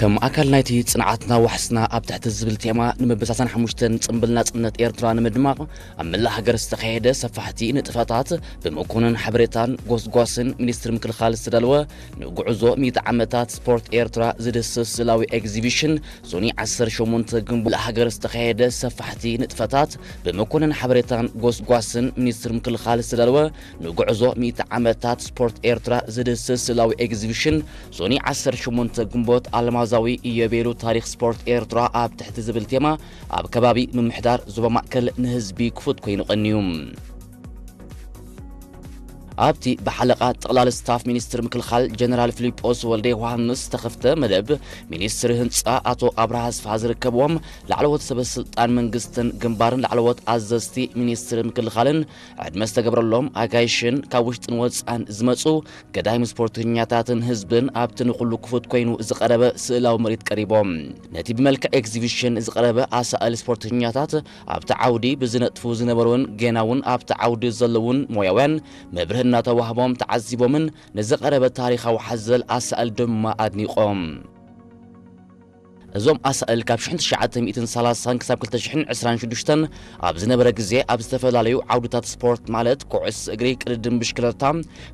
ከም ኣካል ናይቲ ጽንዓትና ዋሕስና ኣብ ትሕቲ ዝብል ቴማ፣ ንምብሳሳን ሓሙሽተን ጽምብል ናጽነት ኤርትራ ንምድማቕ ኣብ መላእ ሃገር ዝተኻየደ ሰፋሕቲ ንጥፈታት፣ ብመኮንን ሓበሬታን ጎስጓስን ሚኒስትሪ ምክልኻል ዝተዳለወ ንጉዕዞ ሚእቲ ዓመታት ስፖርት ኤርትራ ዝድስስ ስእላዊ ኤግዚቢሽን፣ ሶኒ ዓሰርተ ሸሞንተ ግንቦት ሃገር ዝተኻየደ ሰፋሕቲ ንጥፈታት፣ ብመኮንን ሓበሬታን ጎስጓስን ሚኒስትሪ ምክልኻል ዝተዳለወ ንጉዕዞ ሚእቲ ዓመታት ስፖርት ኤርትራ ዝድስስ ስእላዊ ኤግዚቢሽን፣ ሶኒ ዓሰርተ ሸሞንተ ግንቦት ኣልማዛዊ ኢዮቤሉ ታሪኽ ስፖርት ኤርትራ ኣብ ትሕቲ ዝብል ቴማ፣ ኣብ ከባቢ ምምሕዳር ዞባ ማእከል ንህዝቢ ክፉት ኮይኑ ቀንዩ። ኣብቲ ብሓለቓ ጠቕላሊ ስታፍ ሚኒስትሪ ምክልኻል ጀነራል ፊሊጶስ ወልደ ዮሃንስ ዝተኸፍተ መደብ፣ ሚኒስትሪ ህንጻ ኣቶ ኣብርሃ ኣስፍሃ ዝርከብዎም ላዕለዎት ሰበ ስልጣን መንግስትን ግንባርን ላዕለዎት ኣዘዝቲ ሚኒስትሪ ምክልኻልን ዕድመ ዝተገብረሎም ኣጋይሽን ካብ ውሽጥን ወጻን ዝመጹ ገዳይም ስፖርተኛታትን ህዝብን ኣብቲ ንኹሉ ክፉት ኮይኑ ዝቐረበ ስእላዊ ምርኢት ቀሪቦም። ነቲ ብመልክዕ ኤግዚቢሽን ዝቐረበ ኣሳእል ስፖርተኛታት ኣብቲ ዓውዲ ብዝነጥፉ ዝነበሩን ጌና እውን ኣብቲ ዓውዲ ዘለውን ሞያውያን መብርሂ እናተዋህቦም ተዓዚቦምን ንዝቐረበ ታሪኻዊ ሓዘል ኣሳእል ድማ ኣድኒቖም። እዞም ኣሳእል ካብ ሽሕን ትሽዓተ ሚእትን ሰላሳን ክሳብ ክልተ ሽሕን ዕስራን ሽዱሽተን ኣብ ዝነበረ ግዜ ኣብ ዝተፈላለዩ ዓውድታት ስፖርት ማለት ኩዕስ እግሪ፣ ቅድድም ብሽክለታ፣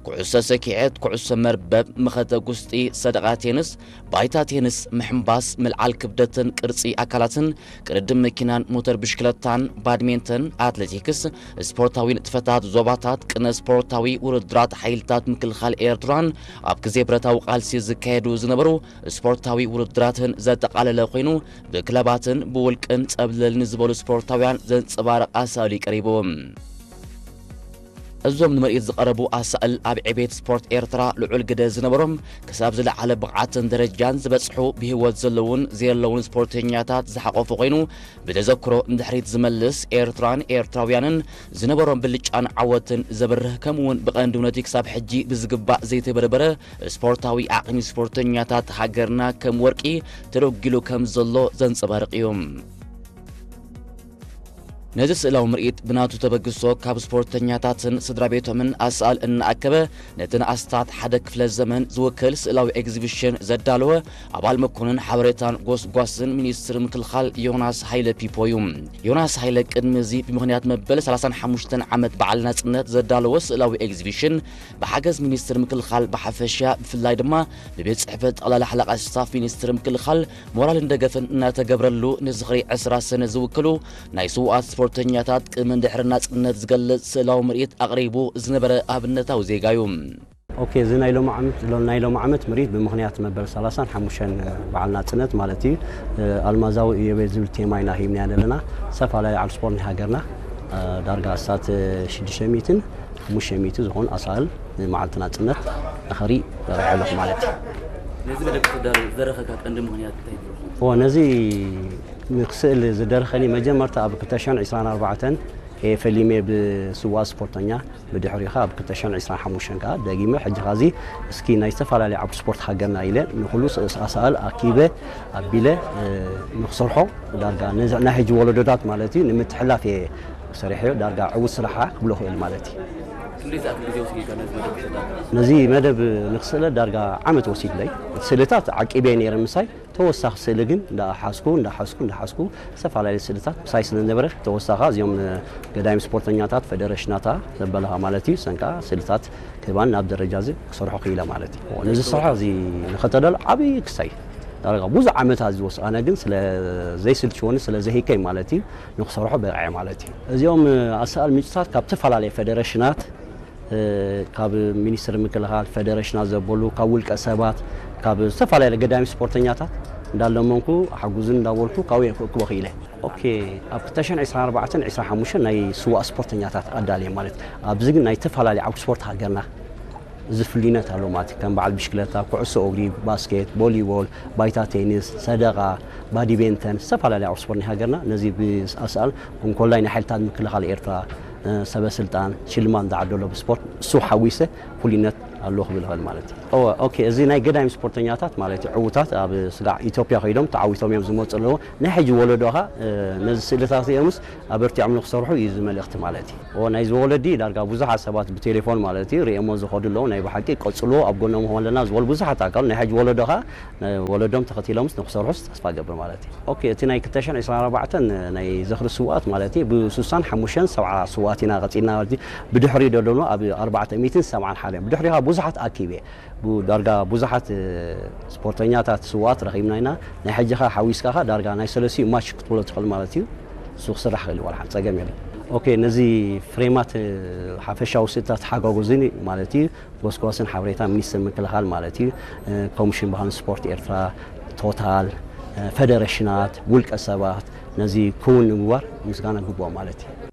ኩዕሶ ሰኪዔት፣ ኩዕሶ መርበብ፣ መኸተ ጉስጢ፣ ሰደቓ ቴንስ፣ ባይታ ቴንስ፣ ምሕንባስ፣ ምልዓል ክብደትን ቅርጺ ኣካላትን፣ ቅድድም መኪናን ሞተር ብሽክለታን፣ ባድሜንተን፣ ኣትሌቲክስ፣ ስፖርታዊ ንጥፈታት ዞባታት፣ ቅነ ስፖርታዊ ውድድራት ሓይልታት ምክልኻል ኤርትራን ኣብ ግዜ ብረታዊ ቃልሲ ዝካየዱ ዝነበሩ ስፖርታዊ ውድድራትን ዘጠቓለለ ኮይኑ፣ ብክለባትን ብውልቅን ጸብለል ንዝበሉ ስፖርታውያን ዘንጸባርቕ ኣሳእሉ እዩ ቀሪቡ። እዞም ንምርኢት ዝቐረቡ ኣሳእል ኣብ ዕቤት ስፖርት ኤርትራ ልዑል ግደ ዝነበሮም፣ ክሳብ ዝለዓለ ብቕዓትን ደረጃን ዝበጽሑ፣ ብህይወት ዘለውን ዘየለውን ስፖርተኛታት ዝሓቖፈ ኮይኑ፣ ብተዘክሮ ንድሕሪት ዝመልስ፣ ኤርትራን ኤርትራውያንን ዝነበሮም ብልጫን ዓወትን ዘብርህ፣ ከምኡውን ብቐንዱ ነቲ ክሳብ ሕጂ ብዝግባእ ዘይተበርበረ ስፖርታዊ ዓቕሚ ስፖርተኛታት ሃገርና ከም ወርቂ ተደጒሉ ከም ዘሎ ዘንጸባርቕ እዩ። ነዚ ስእላዊ ምርኢት ብናቱ ተበግሶ ካብ ስፖርተኛታትን ስድራ ቤቶምን ኣሳእል እናኣከበ፣ ነቲ ንኣስታት ሓደ ክፍለ ዘመን ዝውክል ስእላዊ ኤግዚቢሽን ዘዳለወ ኣባል መኮንን ሓበሬታን ጎስጓስን ሚኒስትሪ ምክልኻል ዮናስ ሃይለ ፒፖ እዩ። ዮናስ ሃይለ ቅድሚ እዚ ብምኽንያት መበል ሰላሳን ሓሙሽተን ዓመት በዓል ናጽነት ዘዳለወ ስእላዊ ኤግዚቢሽን ብሓገዝ ሚኒስትሪ ምክልኻል ብሓፈሻ፣ ብፍላይ ድማ ብቤት ጽሕፈት ጠቕላሊ ሓለቓ ስታፍ ሚኒስትሪ ምክልኻል ሞራልን ደገፍን እናተገብረሉ፣ ንዝኽሪ ዕስራ ሰነ ዝውክሉ ናይ ስውኣት ስፖርተኛታት ቅድምን ድሕሪ ናጽነት ዝገልጽ ስእላዊ ምርኢት ኣቕሪቡ ዝነበረ ኣብነታዊ ዜጋ እዩ። ኦኬ፣ እዚ ናይ ሎሚ ዓመት፣ ሎ-፣ ናይ ሎሚ ዓመት ምርኢት ብምኽንያት መበል ሰላሳን ሓሙሽተን በዓል ናጽነት ማለት እዩ፣ ኣልማዛዊ ኢዮቤል ዝብል ቴማ ኢና ሂብና ዘለና። ዝተፈላለዩ ዓውዲ ስፖርት ናይ ሃገርና፣ ዳርጋ ኣስታት ሽዱሽተ ሚእትን ሓሙሽተ ሚእቲ ዝኾኑ ኣሳእል ንመዓልቲ ናጽነት ንኸርኢ በቒዐ ኣለኹ ማለት እዩ። ነዚ መደብ ክትዳሎ ዝደረኸካ ቀንዲ ምኽንያት እንታይ ነይሩ? እወ፣ ነዚ ንክስእል ዝደረኸኒ መጀመርታ ኣብ ክልተ ሽሕን ዕስራን ኣርባዕተን እየ ፈሊመ ብስዋ ስፖርተኛ፣ ብድሕሪኡ ኸኣ ኣብ ክልተ ሽሕን ዕስራን ሓሙሽተን ከኣ ደጊመ፣ ሕጂ ኸዚ እስኪ ናይ ዝተፈላለዩ ዓውዲ ስፖርት ሃገርና ኢለ ንኹሉ ስ-፣ ኣሳእል ኣኪበ ኣቢለ፣ እ፣ ንክሰርሖ ዳርጋ ነዚ ናይ ሕጂ ወለዶታት ማለት እዩ ንምትሕላፍ እየ ሰሪሐዮ። ዳርጋ ዕዉት ስራሓ ክብሎ ክእል ማለት እዩ። ክንደይ ዝኣክል ግዜ ወሲድካ ነዚ መደብ ክትዳሎ? ነዚ መደብ ንክስእለ ዳርጋ ዓመት ወሲድለይ። ስእልታት ዓቂበ ነይረ ምሳይ፣ ተወሳኺ ስእሊ ግን እንዳሓዝኩ፣ እንዳሓዝኩ፣ እንዳሓዝኩ፣ ዝተፈላለዩ ስእልታት ምሳይ ስለ ዝነበረ፣ ተወሳኻ እዚኦም ገዳይም ስፖርተኛታት፣ ፈደረሽናታ ዘበለኻ ማለት እዩ፣ ሰንካ ስእልታት ክህባን ናብ ደረጃ እዚ ክሰርሖ ክኢለ ማለት እዩ። ነዚ ስራሕ እዚ ንኸተደሎ ዓብዪ ክሳይ ዳርጋ ብዙሕ ዓመታት ዝወስድ፣ ኣነ ግን ስለ ዘይስልችወኒ፣ ስለ ዘሂከይ ማለት እዩ፣ ንክሰርሖ በቂዐ ማለት እዩ። እዚኦም ኣሳእል ምንጭታት ካብ ዝተፈላለዩ ፈደረሽናት፣ እ፣ ካብ ሚኒስትሪ ምክልኻል፣ ፈደረሽናት ዘበሉ፣ ካብ ውልቀ ሰባት፣ ካብ ዝተፈላለዩ ገዳይም ስፖርተኛታት እንዳለመንኩ፣ ሓጉዝን እንዳበልኩ ካብኡ እየ ክእክቦ ክኢለ። ኦኬ፣ ኣብ ክልተ ሽሕን ዕስራን ኣርባዕተን ዕስራን ሓሙሽተን ናይ ስዋእ ስፖርተኛታት ኣዳልየ ማለት። ኣብዚ ግን ናይ ዝተፈላለዩ ዓውዲ ስፖርት ሃገርና እዚ ፍሉይነት ኣሎ ማለት እዩ። ከም በዓል ብሽክለታ፣ ኩዕሶ እግሪ፣ ባስኬት፣ ቮሊቦል፣ ባይታ ቴኒስ፣ ሰደቓ፣ ባዲቤንተን፣ ዝተፈላለዩ ዓውዲ ስፖርት ናይ ሃገርና ነዚ ብኣሳእል እንኮላይ ናይ ሓይልታት ምክልኻል ኤርትራ፣ እ፣ ሰበ ስልጣን ሽልማት ዝዓደሎ ብስፖርት እሱ ሓዊሰ ፍሉይነት ኣሎ ክብል ይኽእል ማለት እዩ። ኦኬ፣ እዚ ናይ ገዳይም ስፖርተኛታት ማለት እዩ። ዕዉታት ኣብ ስጋዕ ኢትዮጵያ ከይዶም ተዓዊቶም እዮም ዝመፁ ኣለዉ። ናይ ሕጂ ወለዶ ኸ ነዚ ስእልታት እዚኦምስ ኣበርቲዖም ንክሰርሑ እዩ እዚ መልእኽቲ ማለት እዩ። ናይዚ ወለዲ ዳርጋ ብዙሓት ሰባት ብቴሌፎን ማለት እዩ ርእየሞ ዝኸዱ ኣለዉ። ናይ ብሓቂ ቀፅሎ ኣብ ጎኖም ኾን ኣለና ዝበሉ ብዙሓት ኣካሉ ናይ ሕጂ ወለዶ ኸ ወለዶም ተኸቲሎምስ ንክሰርሑስ ተስፋ ገብር ማለት እዩ። ኦኬ፣ እቲ ናይ ክልተ ሽሕን ዕስራን ኣርባዕተን ናይ ዝኽሪ ስውኣት ማለት እዩ ብስሳን ሓሙሽተን ሰብዓ ስውኣት ኢና ቀፂልና ማለት እዩ። ብድሕሪ ደለኑ ኣብ ኣርባዕተ ሚእትን ሰብዓን ሓደን ብድሕሪኻ ብዙሓት ኣኪበ ዳርጋ ብዙሓት ስፖርተኛታት ስውኣት ረኺብና ኢና። ናይ ሕጂ ኸ ሓዊስካ ኸ ዳርጋ ናይ ሰለስቲኡ ማች ክትብሎ ትኽእል ማለት እዩ። እሱ ክስራሕ ክእል ዋላ ሓንቲ ፀገም የለን። ኦኬ፣ ነዚ ፍሬማት ሓፈሻዊ ስእልታት ሓጋጉዝኒ ማለት እዩ ጎስጓስን ሓበሬታ ሚኒስትር ምክልኻል ማለት እዩ፣ ኮሚሽን ባህልን ስፖርት ኤርትራ፣ ቶታል፣ ፈደረሽናት፣ ውልቀ ሰባት ነዚ ክውን ንምግባር ምስጋና ግብኦ ማለት እዩ።